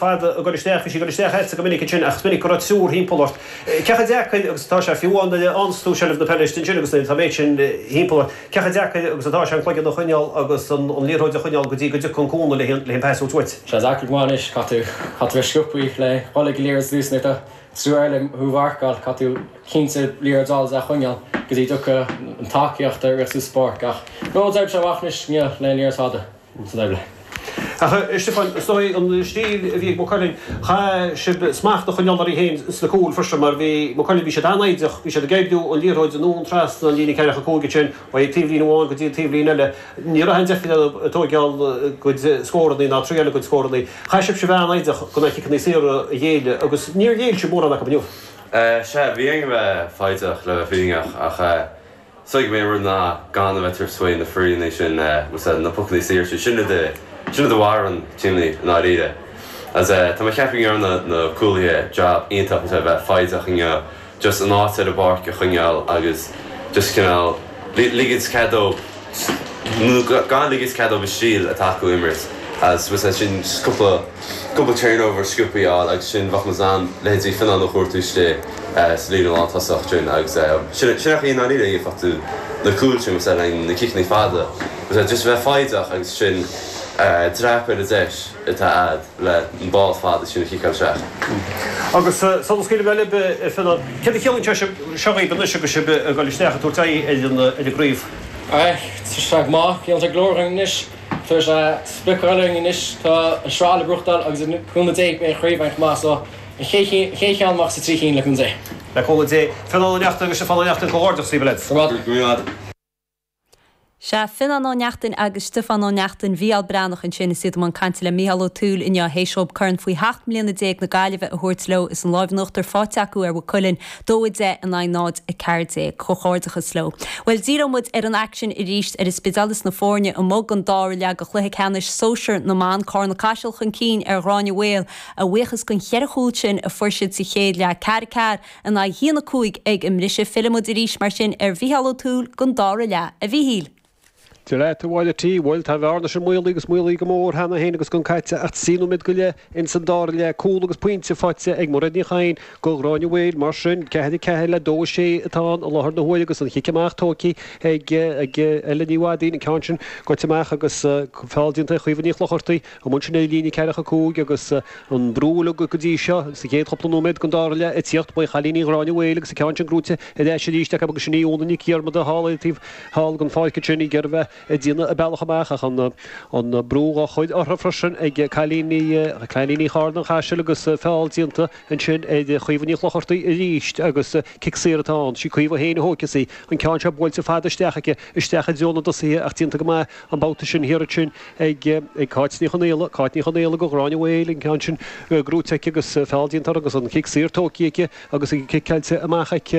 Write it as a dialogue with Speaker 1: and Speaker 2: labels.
Speaker 1: Fada ag dul isteach, bhí sí ag dul isteach agatsa go minic ansin ach is minic go raibh triúr thimpeall ort. Cé chomh deacair agus atá sé, fiú amháin nuair a fhaigheanns tú seilbh na peile istigh ansin agus nuair atá an méid sin thimpeall ort, cé chomh deacair agus atá sé an cloigeann a choinneáil agus an liathróid a choinneáil go dtí go dtiocfaidh an cúnamh le an pas a thabhairt uait?
Speaker 2: Sé deacair go maith anois, caithfidh tú, caithfidh tú bheith sciobthaí le dhul ag an liathróid ar dtús nuair atá triúr eile thú a mharcáil, caithfidh tú cinnte liathróid a fháil is é a choinneáil go dtí dtiocfaidh an tacaíocht ar ais suas an pháirc ach no, d'oibrigh sé amach anois inniu le an liathróid fada.
Speaker 1: san oibre. Ach a Stiofáin, is dóigh an stíl a bhí ag Maigh Cuilinn, chaith sibh smacht a choinneáil oraibh féin sna cúil freisin mar bhí Maigh Cuilinn, bhí siad an-fhoighdeach, bhí siad ag oibriú an liathróid anonn trasna an líne ceathracha cúig ansin, ó taobhlíne amháin go dtí an taobhlíne eile. Ní raibh aon deifir orthu ag tóigeáil a gcuid scórannaí ná triail a gcuid scórannaí. Chaith sibhse bheith an-fhoighdeach gan na ciceanna saora a ghéilleadh agus níor ghéill sibh mórán acu inniu.
Speaker 3: Sea, bhí orainn a bheith foighdeach le bheith fírinneach ach Is dóigh gurb é an rud ná gan a bheith ag tabhairt faoi na freeanna sin, na pocanna saoire, sin rud a, sin rud a mharaíonn tímeanna i ndáiríre. Agus tá mé ag ceapadh go ndearna na cúlaithe job iontach le bheith foighdeach inniu, just an áit ar an bpáirc a choinneáil agus just cineál ligint cead dóibh, nó gan ligint cead dóibh an stíl atá acu a imirt agus sin just cúpla, cúpla turnover sciobthaí a fháil agus sin bheadh muid in ann leithéidí Fionnán a chuartú istigh sa líne lántosach sin agus sin sin an chaoi i ndáiríre a gheofá tú na cúil sin le na ciceanna fada just bheith foighdeach agus sin dreapadh ar an deis atá a'd le an ball fada sin a chiceáil isteach.
Speaker 1: Agus sula scaoilfidh mé libh, a Fhionnán, céard a chiallaíonn sé seo dhaoibh anois agus sibh ag dul isteach ag tabhairt aghaidh ar an ar an gcraobh?
Speaker 2: Tá sé go maith, ciallaíonn sé go leor dhúinn anois. Tá sé sprioc eile againn anois, tá an sraith le buachtáil agus le cúnamh Dé beidh an chraobh againn chomh maith so an chéad cheann amach sa trí cinn le cúnamh Dé.
Speaker 1: Le cúnamh Dé. Fionnán Ó Neachtain agus Stiofán Ó Neachtain, comhghairdeachas daoibh a leaids.
Speaker 2: Go raibh maith
Speaker 3: agat.
Speaker 4: Sea, Fionnán Ó Neachtain agus Stiofán Ó Neachtain, Mhícheál Breathnach ansin is iad i mbun cainte le Mícheál Ó Tuathail inniu théis dhóibh Corn faoi sheacht mbliana déag na Gaillimhe a thabhairt leo is an láimh in uachtar faighte acu ar Mhaigh Cuilinn, 2, 10 in aghaidh 0, 14. Comhghairdeachas leo. Bhuel, díreoidh muid ar an aicsean arís ar an Spidéal is na foirne amuigh don dara leath de chluiche ceannais sóisear na mban, Carna Caiseal chun cinn ar Ghráinne Mhaol, a bhuíochas den cheithre chúl sin a fuair siad sa chéad leath, 4, 4 in aghaidh 1, 5 ag an mbriseadh. Fillfidh muid arís mar sin ar Mhícheál Ó Tuathail don dara leath. A Mhíchíl!
Speaker 1: Dia leat, a Mháire T. Bhuel, tá an bhearna sin maolaithe agus maolaithe go mór cheana féin agus gan caite ach trí nóiméad go leith ins an dara leath. Cúl agus pointe faighte ag Mairéad Ní Chadhain do Ghráinne Mhaol. Mar sin, 4, 4 le 2, 6 atá ann i láthair na huaire agus an chic amach tógtha ag Ella Ní Mhadaoin, an ceann sin goite amach agus feall déanta ar Chaoimhe Ní Chlochartaigh. Amuigh ansin ar líne ceathracha cúig agus an brú uilig go dtí seo sa chéad chúpla nóiméad den dara leath ag tíocht ó chailíní Ghráinne Mhaol agus an ceann sin gnóite ar ais arís acu agus sin í Úna Nic Dhiarmada thall ar an taobh thall den pháirc ansin ag iarraidh bheith ag déanamh a bealach amach ach an brú dhá chur orthu freisin ag cailíní cailíní Charna an Chaisil agus feall déanta ansin ar Chaoimhe Ní Chlochartaigh arís agus cic saor atá ann. Sí Caoimhe féin a thógfas í. An ceann seo buailte fada isteach aici isteach i dtreo na dtosaithe ach déanta go maith an babhta sin thiar ansin ag Cáit Ní Chonaola, Cáit Ní Chonaola do Ghráinne Mhaol, an ceann sin gnóite aici agus feall déanta uirthi agus an cic saor tógtha aici agus an cic caillte amach aici.